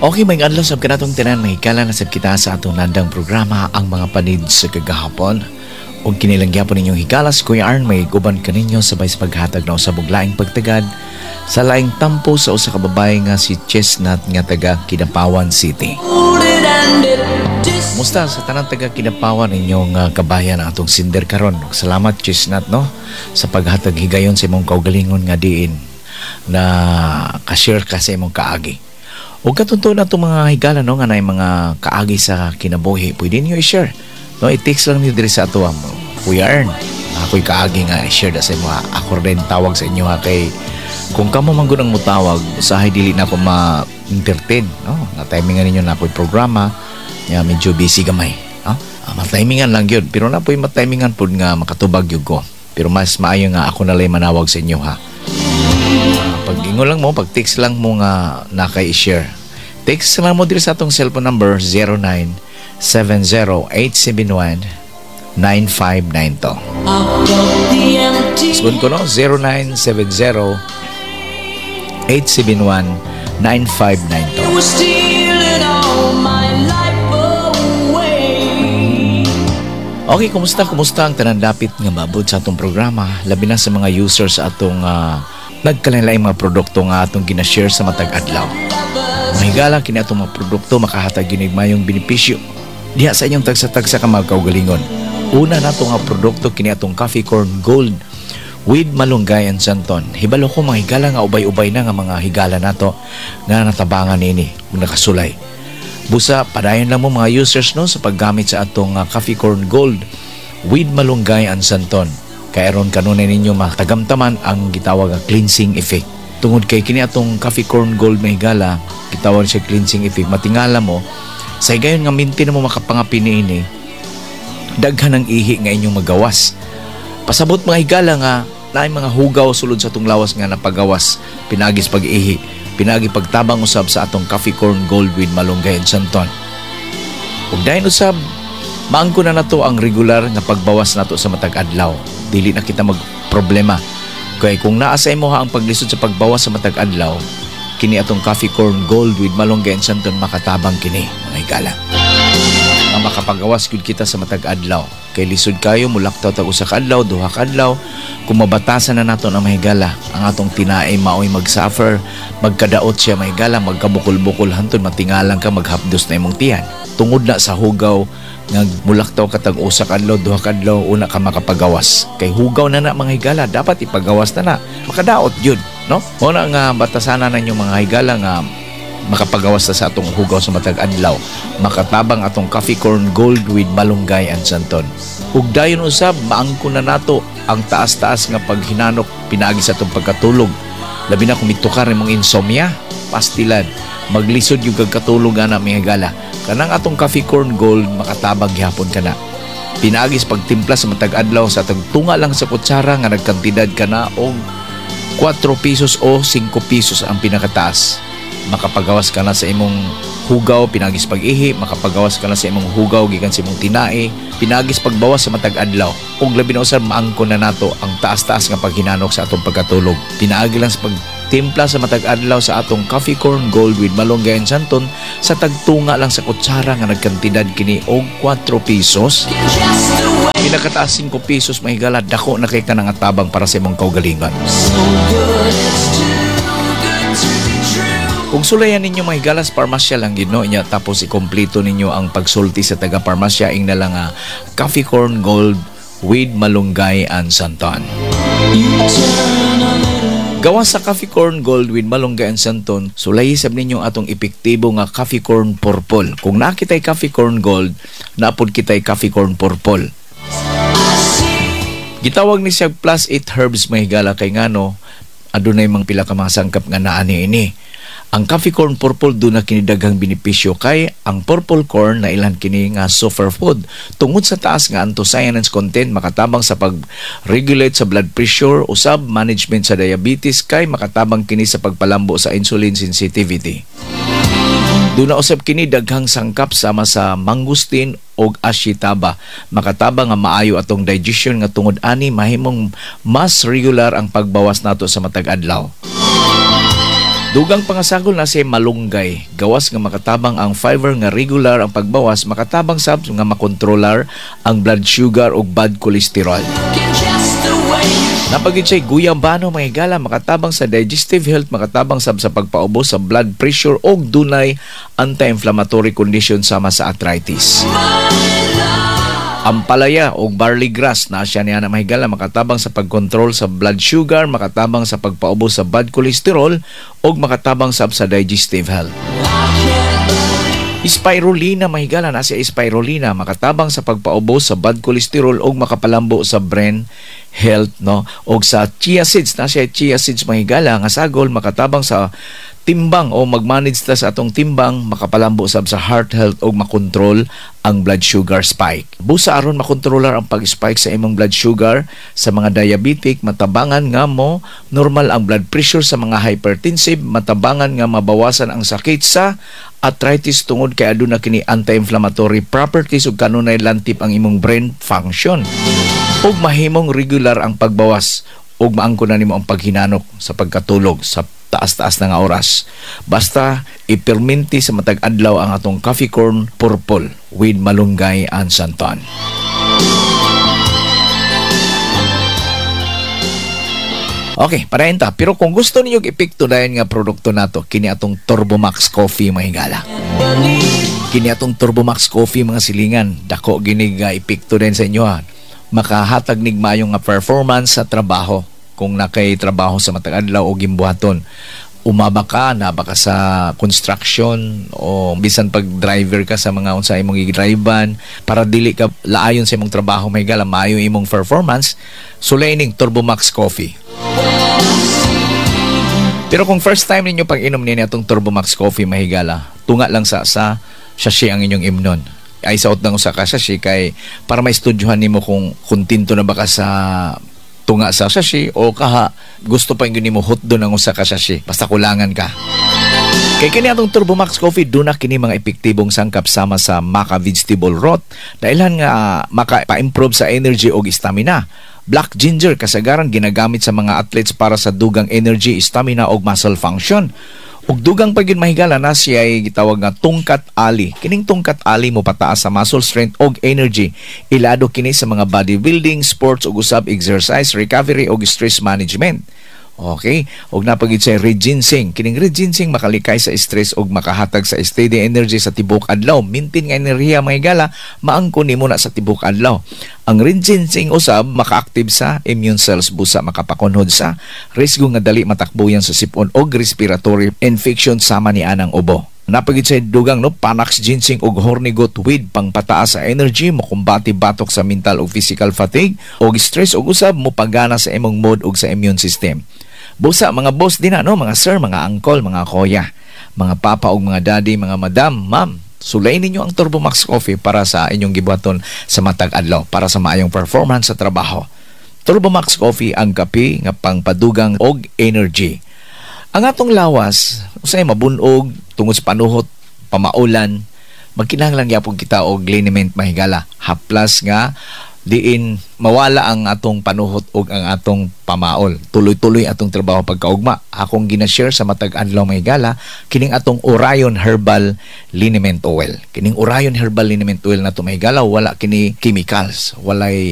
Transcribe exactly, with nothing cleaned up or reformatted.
Okay, maayong adlaw sab kanatong tanan, mahigala na sab kita sa atong landang programa, Ang Mga Panid sa Kagahapon. Ug kini lang gyapon ninyong higala si Kuya Arn, may guban kaninyo sabay sa paghatag na usab og laing pagtagad sa laing tampo sa usa ka babae nga si Chestnut nga taga Kidapawan City. Musta sa tanang taga Kidapawan, inyong uh, kabayan ang atong sender karon. Salamat, Chestnut, no, sa paghatag higayon sa imong kaugalingon nga diin na ka-share ka sa imong kaagi. Ug katunto na itong mga higala, no, nga naay mga kaagi sa kinabuhi, pwede niyo i-share. No, i-text lang niyo diri sa ato, mo. "Kuya Ern, ako'y kaagi nga i-share da sa imo." Ako rin tawag sa inyo ha, kay kung kamo man gud ang mutawag, usahay dili na ako ma-entertain, no? Na timingan ninyo na ako'y programa, ya medyo busy gamay, no? Ah, matimingan lang yun. Pero na po'y matimingan pud nga makatubag yun ko. Pero mas maayo nga ako na lang manawag sa inyo ha. Pag ingon lang mo, pag text lang mo nga nakay i-share. Text lang mo diri sa atong cellphone number zero nine seven zero, eight seven one, nine five nine two. Sabon ko, no? zero nine seven zero, eight seven one, nine five nine two. Was stealing all my life away. Okay, kumusta? Kumusta ang tanan dapit nga maabot sa atong programa? Labi na sa mga users sa atong uh, nagkalain mga produkto nga atong ginashare sa matag adlaw. Mga higala, kini atong mga produkto makahatag ginig mayong benepisyo diha sa inyong tagsa-tagsa ka mga kaugalingon. Una nato nga produkto, kini atong Coffee Corn Gold with malunggay and santon. Hibalo ko, mga higala, nga ubay-ubay na nga mga higala nato nga natabangan nini ug nakasulay. Busa padayon lang mo, mga users, no, sa paggamit sa atong uh, Coffee Corn Gold with malunggay and santon. Kay aron kanunay ninyo matagamtaman ang gitawag nga cleansing effect. Tungod kay kini atong Coffee Corn Gold, may higala, gitawag siya cleansing effect. Matingala mo sa higayon nga minti na mo makapangapin niini, daghan ang ihi nga inyong magawas. Pasabot, mga higala, nga naay mga hugaw sulod sa atong lawas nga napagawas pinaagis pag-ihi, pinaagi pagtabang usab sa atong Coffee Corn Gold with malunggay and santon. Ug dayon usab, maangko na nato ang regular nga pagbawas nato sa matag adlaw. Dili na kita mag problema. Kay kung naa sa imo ha ang paglisod sa pagbawas sa matag adlaw, kini atong Coffee Corn Gold with malunggay and santon makatabang kini, mga higala, nga makapagawas gyud kita sa matag adlaw. Kay lisod kayo mulaktaw tag usa ka adlaw, duha ka adlaw. Kung mabatasan na nato ang mga higala, ang atong tinae maoy mag-suffer, magkadaot siya, mga higala, magkabukol-bukol hantod matingalang ka, maghapdos na imong tiyan. Tungod na sa hugaw nga mulaktaw ka tag usa ka adlaw, duha ka adlaw, una ka makapagawas. Kay hugaw na na, mga higala, dapat ipagawas na na. Makadaot yun, no? Mao na nga batasanan ninyo, mga higala, nga makapagawas na sa atong hugaw sa matag adlaw. Makatabang atong Coffee Corn Gold with malunggay and santon. Ug dayon usab, maangko na nato ang taas-taas nga paghinanok pinaagi sa atong pagkatulog. Labi na kung mitukar imong insomnia, pastilan, maglisod yung kagkatulog ana, mga higala. Kanang atong Coffee Corn Gold makatabang gihapon kana. Pinaagi sa pagtimpla sa matag adlaw sa atong tunga lang sa kutsara nga nagkantidad ka na og kuwatro pesos o singko pesos ang pinakataas. Makapagawas ka na sa imong hugaw pinagis pag-ihi, makapagawas ka na sa imong hugaw gikan sa imong tinae, pinagis pagbawas sa matag adlaw. Ug labi na usab, maangko na nato ang taas-taas nga paghinanok sa atong pagkatulog. Pinaagi lang sa pagtimpla sa matag adlaw sa atong Coffee Corn Gold with malunggay and santon sa tagtunga lang sa kutsara nga nagkantidad kini og kuwatro pesos. Just the way Pinakataas singko pesos, mahigala, dako na kay ka nga tabang para sa imong kaugalingon. So good it's too good to be true. Kung sulayan ninyo, mga higala, sa parmasya lang gid, no, inya tapos ikompleto ninyo ang pagsulti sa taga parmasya, ing na lang nga Coffee Corn Gold with malunggay and santon. You turn a little Gawas sa Coffee Corn Gold with malunggay and santon, sulayi sab ninyo atong epektibo nga Coffee Corn Purple. Kung nakitay Coffee Corn Gold, napod kitay Coffee Corn Purple. Gitawag ni siya plus eight herbs, mga higala, kay ngano adunay mga pila ka mga sangkap nga naa niini. Ang Coffee Corn Purple, duna kini daghang benepisyo kay ang purple corn na ilan kini nga superfood. Tungod sa taas nga anthocyanins content, makatabang sa pag-regulate sa blood pressure, usab management sa diabetes kay makatabang kini sa pagpalambo sa insulin sensitivity. Duna usab kini daghang sangkap sama sa mangosteen og ashitaba. Makatabang nga maayo atong digestion nga tungod ani mahimong mas regular ang pagbawas nato sa matag adlaw. Dugang pangasagol na si malunggay. Gawas nga makatabang ang fiber nga regular ang pagbawas, makatabang sab nga makontrolar ang blood sugar ug bad cholesterol. Looking just the way you Naa pa gyud siya guyabano, mga higala, makatabang sa digestive health, makatabang sab sa pagpaubos sa blood pressure og dunay anti-inflammatory condition sama sa arthritis. Ampalaya o barley grass na siya niya na, mahigala, makatabang sa pagkontrol sa blood sugar, makatabang sa pagpaubos sa bad cholesterol ug makatabang sab sa digestive health. Spirulina, mahigala, na siya spirulina, makatabang sa pagpaubos sa bad cholesterol ug makapalambo sa brain health, no? Og sa chia seeds, na siya chia seeds, mahigala, nga sagol, makatabang sa timbang o magmanage ta sa atong timbang, makapalambo sab sa heart health ug makontrol ang blood sugar spike. Busa aron makontrolar ang pag-spike sa imong blood sugar sa mga diabetic, matabangan nga mo normal ang blood pressure sa mga hypertensive, matabangan nga mabawasan ang sakit sa arthritis tungod kay aduna kini anti-inflammatory properties ug kanunay lantip ang imong brain function. Ug mahimong regular ang pagbawas ug maangko na nimo ang paghinanok sa pagkatulog sa taas-taas na nga oras. Basta iperminti sa matag adlaw ang atong coffee corn purple with malunggay and santan. Okay, padayon ta. Pero kung gusto ninyo epekto dayon nga produkto nato, kini atong Turbomax Coffee, mga higala. Kini atong Turbomax Coffee, mga silingan, dako ginig nga epekto din sa inyo ha. Makahatag nig maayo nga performance sa trabaho kung nakay trabaho sa matag adlaw o gimbuhaton. Umaba ka, naba ka sa construction o bisan pag driver ka sa mga unsa imong gidrivean para dili ka laayon sa imong trabaho, may gala, maayo imong performance, sulay ning Turbomax Coffee. Pero kung first time ninyo pag-inom niya atong Turbomax Coffee, mahigala, tunga lang sa sa sachet ang inyong imnon. Ay saot ng usa ka sachet kay para maistudyohan nimo kung kontento na ba ka sa tunga sa sachet o kaha gusto pa yung nimo hotdon ang usa ka sachet. Basta kulangan ka. Kay kini atong Turbomax Coffee, duna kini mga epektibong sangkap sama sa Maca vegetable root, dailhan nga maka-improve sa energy og stamina. Black ginger, kasagaran ginagamit sa mga athletes para sa dugang energy, stamina og muscle function. Ug dugang pa gyud, mahigala, na siya ay gitawag nga tongkat ali. Kining tongkat ali mo pataas sa muscle strength og energy. Ilado kini sa mga bodybuilding, sports ug usab exercise, recovery og stress management. Okay? Og naa pa gyud siya red ginseng. Kining red ginseng makalikay sa stress ug makahatag sa steady energy sa tibuok adlaw. Maintain nga enerhiya, mga higala, maangko nimo na sa tibuok adlaw. Ang red ginseng usab maka-active sa immune cells, busa makapakunhod sa risgo nga dali matakbuyan sa sipon og respiratory infection sama ni anang ubo. Naa pa gyud sa dugang, no, Panax ginseng ug horny goat weed, pangpataas sa energy, mokumbati batok sa mental ug physical fatigue ug stress ug usab mopagana sa imong mood ug sa immune system. Busa mga boss din na, no, mga sir, mga uncle, mga kuya, mga papa ug mga daddy, mga madam, ma'am, sulay ninyo ang Turbomax Coffee para sa inyong gibuhaton sa matag adlaw para sa maayong performance sa trabaho. Turbomax Coffee, ang kape nga pangpadugang og energy. Ang atong lawas, usay mabunog tungod sa panuhot, pamaulan, magkinahanglan gyapon kita og liniment, mahigala. Haplas nga diin mawala ang atong panuhot ug ang atong pamaol. Tuloy-tuloy atong trabaho pagkaugma. Akong gina-share sa matag adlaw, mahigala, kining atong Orion Herbal Liniment Oil. Kining Orion Herbal Liniment Oil na mahigala, wala kini chemicals, walay